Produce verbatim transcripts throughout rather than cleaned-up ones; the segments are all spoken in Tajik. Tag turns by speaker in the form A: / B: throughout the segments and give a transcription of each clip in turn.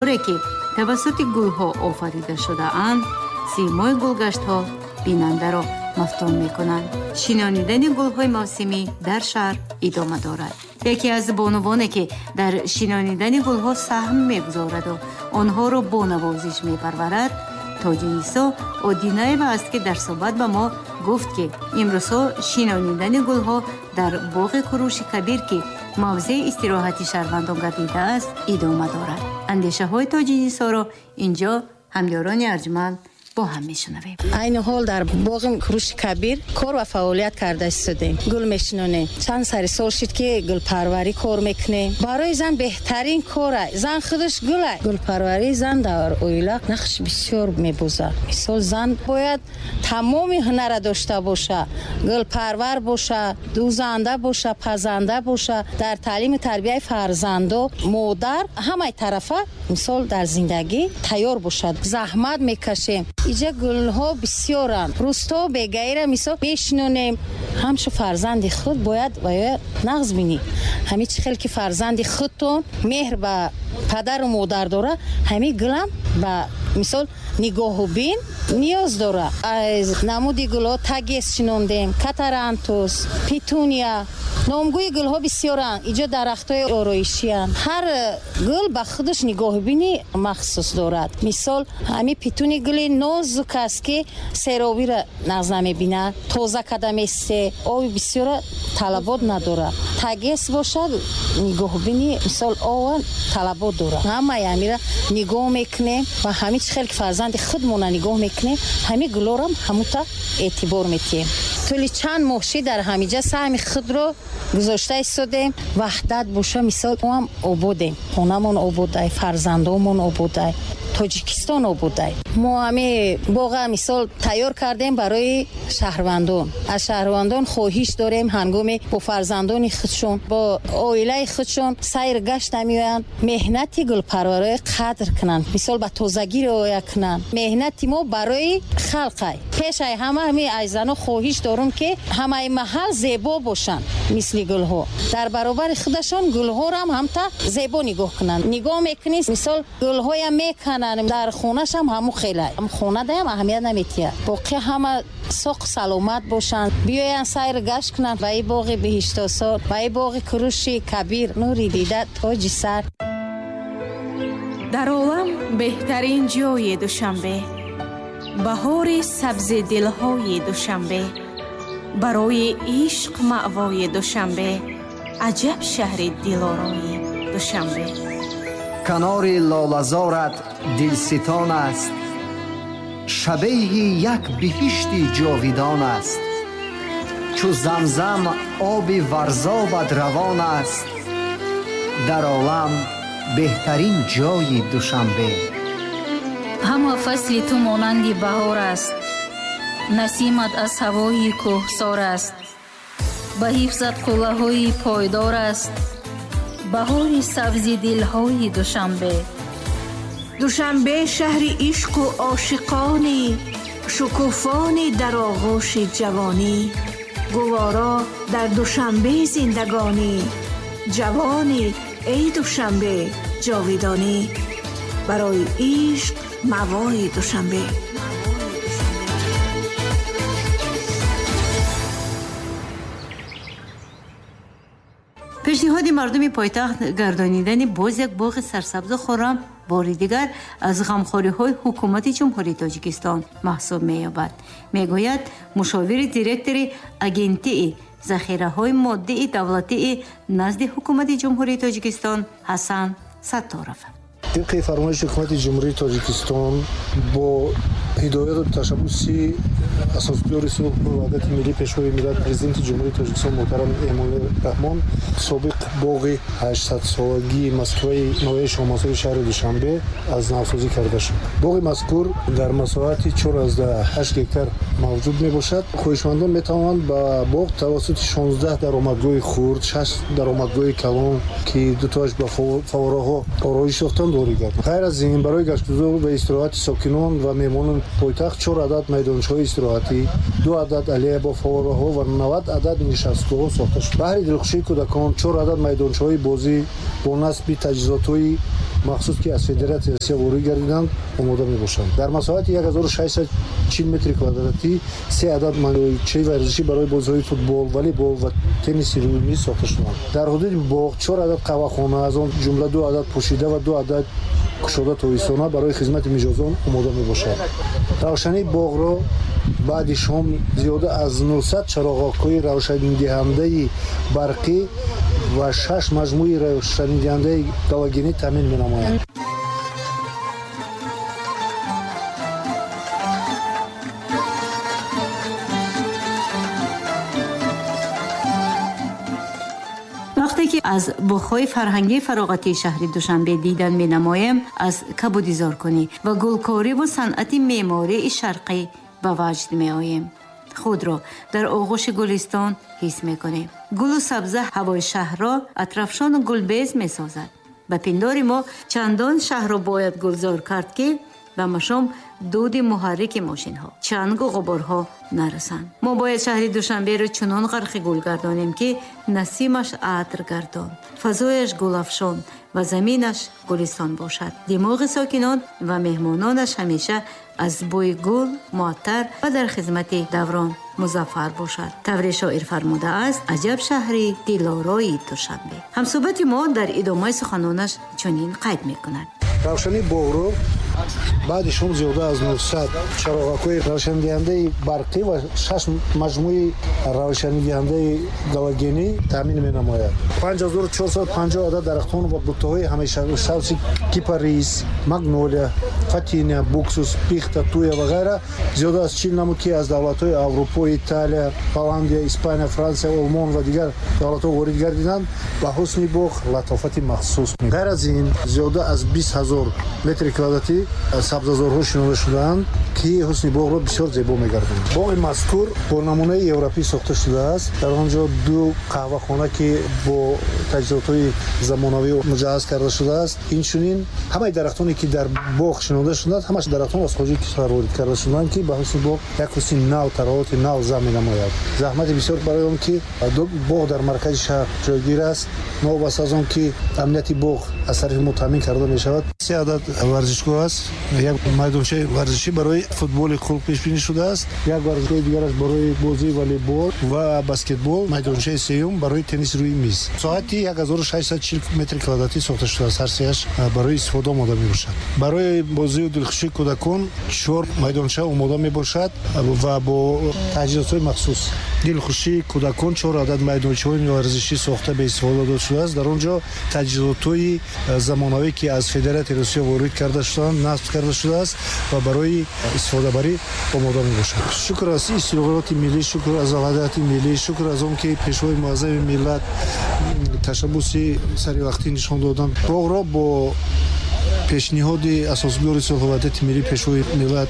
A: Ки тавассути гулҳо офарида шудаанд, симои гулгаштҳо бинандаро мафтун мекунанд. Шинонидани гулҳои мавсимӣ дар шаҳр идома дорад. Яке аз бонувоне, ки дар шинонидани гулҳо саҳм мегузораду онҳоро бо навозиш мепарварад, Тоҷинисо Одинаева аст, ки дар суҳбат ба мо гуфт, ки имрӯзҳо шинонидани гулҳо дар боғи Куруши Кабир, ки мавзеи истироҳати шаҳрвандон гардидааст, идома дорад. Андешаҳои Тоҷинисоро инҷо ҳамёрони арҷманд бо ҳам мешунавем.
B: Айни ҳол дар боғи Куруши Кабир кор ва фаъолият карда истодем. Гул мешинонем. Чанд сари сол шуд, ки гулпарварӣ кор мекунем. Барои зан беҳтарин кора. Зан худаш гула. Гулпарварии зан дар оила нақш бисёр мебозад. Мисол, зан бояд тамоми ҳунара дошта боша, гулпарвар боша, дӯзанда боша, пазанда боша. Дар таълиму тарбияи фарзандо модар ҳамаи тарафа, мисол, дар зиндагӣ тайёр бошад. Заҳмат мекашем. Иҷа гулҳо бисёранд. Рӯзто бегаира, мисол, мешинонем. Ҳамчу фарзанди худ бояд вая нағз бинӣ. Ҳами чӣ хел ки фарзанди худтон меҳр ба падару модар дора, ҳами гулам ба, мисол, нигоҳу бин ниёз дора. Аз намуди гулҳо тагес шинондем, катарантус, петуния. Номгӯи гулҳо бисёранд. Иҷо дарахтҳои ороишиянд. Ҳар гул ба худаш нигоҳубини махсус дорад. Мисол, ҳами петуни гули нозук аст, ки серобиро нағз намебинад, тоза када месте, оби бисёра талабот надорад. Тагес бошад, нигоҳубини, мисол, ова талабот дорад. Ҳамаи ҳамира нигоҳ мекунем ва ҳами чӣ хел ки фарзанди худмона нигоҳ мекунем, ҳами гулорам ҳамута эътибор метиҳем. Тӯли чанд моҳ шид, дар ҳамиҷа саҳми худро гузошта истодем. Ваҳдат боша, мисол, моам ободем, хонамон ободай, фарзандомон ободай, Тоҷикистон ободай. Мо ҳами боға, мисол, тайёр кардем барои шаҳрвандон. Аз шаҳрвандон хоҳиш дорем, ҳангоме бо фарзандони худшон, бо оилаи худшон сайр гашта меоянд, меҳнати гулпарварои қадр кунанд, мисол, ба тозагӣ риоя кунанд. Меҳнати мо барои халқай. Пешай ҳама ҳами аз зано хоҳиш дорум, ки ҳамаи маҳал зебо бошанд, мисли гулҳо. Дар баробари худашон гулҳорам ҳамта зебо нигоҳ кунанд. Нигоҳ мекунӣ, мисол, гулҳоям мекананд, дар хонашам ҳаму хелай. Хонадаям аҳамият наметиҳад. Боқӣ ҳама соқ саломат бошанд, биёянд сайр гашт кунанд ба и боғи биҳиштосор, ба и боғи Куруши Кабир, нури дида тоҷи сар.
C: Дар олам беҳтарин ҷои Душанбе, баҳори сабзи дилҳои Душанбе, барои ишқ маъвои Душанбе, аҷаб шаҳри дилорои Душанбе.
D: Канори лолазорат дилситон аст, шабеҳи як биҳишти ҷовидон аст. Чу замзам оби варзобат равон аст, дар олам беҳтарин ҷои Душанбе.
E: Ҳама фасли ту монанди баҳор аст, насимат аз ҳавои кӯҳсор аст, ба ҳифзат қуллаҳои пойдор аст, баҳори сабзи дилҳои Душанбе.
F: Душанбе шаҳри ишқу ошиқонӣ, шукуфонӣ дар оғӯши ҷавонӣ. Гуворо дар Душанбе зиндагонӣ, ҷавонӣ эй Душанбе ҷовидонӣ. Барои ишқ мавои Душанбе.
A: Пешниҳоди мардуми пойтахт гардонидани боз як боғи сарсабзу хуррам бори дигар аз ғамхориҳои ҳукумати Ҷумҳурии Тоҷикистон маҳсуб меёбад, мегӯяд мушовири директори Агентии захираҳои моддии давлатии назди ҳукумати Ҷумҳурии Тоҷикистон Ҳасан Сатторов.
G: Тибқи фармоиши ҳукумати Ҷумҳурии Тоҷикистон, бо ҳидояту ташаббуси асосгузори сулҳу ваҳдати миллӣ, Пешвои миллат, Президенти Ҷумҳурии Тоҷикистон муҳтарам Эмомалӣ Раҳмон, собиқ боғи ҳаштсадсолагии Москваи ноҳияи Шоҳмансури шаҳри Душанбе аз навсозӣ карда шуд. Боғи мазкур дар масоҳати чор ҳашт гектар мавҷуд мебошад. Хоҳишмандон метавонанд ба боғ тавассути шонздаҳ даромадгоҳи хурд, шаш даромадгоҳи калон, ки дутоаш ба фаввораҳо ороиш ёфтанд, ворид гарданд. Ғайр аз ин, барои гаштгузор ва истироҳати сокинон ва меҳмонони пойтахт чор адад майдончаҳои истироҳатӣ, ду адад аллея бо фаввораҳо ва навад адад нишастгоҳҳо сохта шуд. Баҳри дилхушии кӯдакон чор адад майдончаҳои бозӣ бо насби таҷҳизотҳои махсус, ки аз Федератсияи Россия ворид гардиданд, омода мебошанд. Дар масоҳати як ҳазору шашсаду чил метри квадратӣ се адад майдончаи варзишӣ барои бозиҳои футбол, волейбол ва тенниси рӯи миз сохта шуданд. Дар ҳудуди боғ чор адад қаҳвахона, аз он ҷумла ду адад пӯшида ва ду адад кушода тобистона барои хизмати мижозон омода мебошад. Равшании боғро баъди шом зиёда аз нӯҳсад чароғокҳои равшанидиҳандаи барқӣ ва шаш маҷмӯи равшанидиҳандаи галогенӣ таъмин менамоянд.
A: Вақте ки аз боғҳои фарҳангии фароғатии шаҳри Душанбе дидан менамоем, аз кабудизоркунӣ ва гулкориву санъати меъмории шарқӣ ба ваҷд меоем. Худро дар оғӯши гулистон ҳис мекунем. Гулу сабза ҳавои шаҳрро атрафшону гулбез месозад. Ба пиндори мо чандон шаҳрро бояд гулзор кард, ки ба машом дуди муҳаррики мошинҳо, чангу ғуборҳо нарасанд. Мо бояд шаҳри Душанберо чунон ғарқи гул гардонем, ки насимаш атр гардон, фазояш гулафшон ва заминаш гулистон бошад. Димоғи сокинон ва меҳмононаш ҳамеша аз бӯи гул муаттар ва дар хизмати даврон музаффар бошад. Тавре шоир фармудааст: аҷаб шаҳри дилорои Душанбе. Ҳамсӯҳбати мо дар идомаи суханонаш чунин қайд мекунад:
G: равшании боғро баъди шом зиёда аз нӯҳсад чароғакҳои равшанидиҳандаи барқӣ ва шаш маҷмӯи равшанидиҳандаи галогенӣ таъмин менамояд. панҷ ҳазору чорсаду панҷоҳ адад дарахтон ва буттаҳои ҳамешасабзи кипарис, магнолия, фатиния, буксус, пихта, туя ва ғайра зиёда аз чил намуд, ки аз давлатҳои Аврупо, Италия, Голландия, Испания, Франсия, Олмон ва дигар давлатҳо ворид гардиданд, ба ҳусни боғ латофати махсус. Ғайр аз ин, зиёда аз бист ҳазор метри квадратӣ сабзазорҳо шинонда шудаанд, ки ҳусни боғро бисёр зебо мегардонанд. Боғи мазкур бо намунаи европӣ сохта шудааст. Дар он ҷо ду қаҳвахона, ки бо таҷҳизотҳои замонавӣ муҷаҳҳаз карда шудааст. Инчунин ҳамаи дарахтоне, ки дар боғ шинонда шудаанд, ҳамаш дарахтон аз хориҷи кишвар ворид карда шудаанд, ки ба ҳусни боғ як ҳусни нав, тароати нав зам менамояд. Заҳмати бисёр барои он ки боғ дар маркази шаҳр ҷойгир аст, новобаста аз он ки амнияти боғ аз тарафи мо таъмин карда мешавад. Се адад варзишгоҳ аст. Як майдончаи варзишӣ барои футболи хурд пешбинӣ шудааст, як варзишгоҳи дигараш барои бозии волейбол ва баскетбол, майдончаи сеюм барои тенниси рӯи миз. Соати як ҳазору шашсаду чил метри квадратӣ сохта шудааст, ҳар сеяш барои истифода омода мебошад. Барои бозию дилхушии кӯдакон чор майдонча омода мебошад ва бо таҷҳизотҳои махсус. Дилхушии кӯдакон чор адад майдончаҳои варзишӣ сохта ба истифода дода шудааст. Дар он ҷо таҷҳизотҳои замонавӣ, ки аз Федератсияи Русия ворид карда шудаанд, насб карда шудааст ва барои истифодабарӣ омода мебошад. Шукр аз истиқлолияти миллӣ, шукр аз ваҳдати миллӣ, шукр аз он ки пешвои муаззами миллат ташаббуси саривақтӣ нишон доданд. Боғро бо пешниҳоди асосгузори сулҳу ваҳдати миллӣ, пешвои миллат,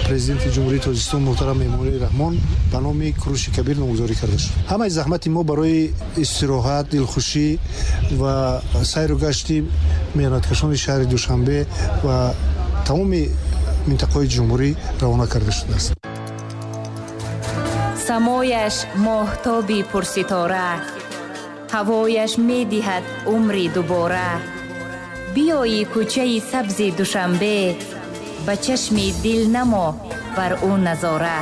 G: президенти Ҷумҳурии Тоҷикистон муҳтарам Эмомалӣ Раҳмон ба номи Куруши Кабир номгузорӣ карда шуд. Ҳамаи заҳмати мо барои истироҳат, дилхушӣ ва сайру гашти меҳнаткашони шаҳри Душанбе ва тамоми минтақаҳои ҷумҳурӣ равона карда шудааст.
H: Самояш моҳтоби пурситора, ҳавояш медиҳад умри дубора. Биёи кӯчаи сабзи Душанбе, ба чашми дил намо бар ӯ назора.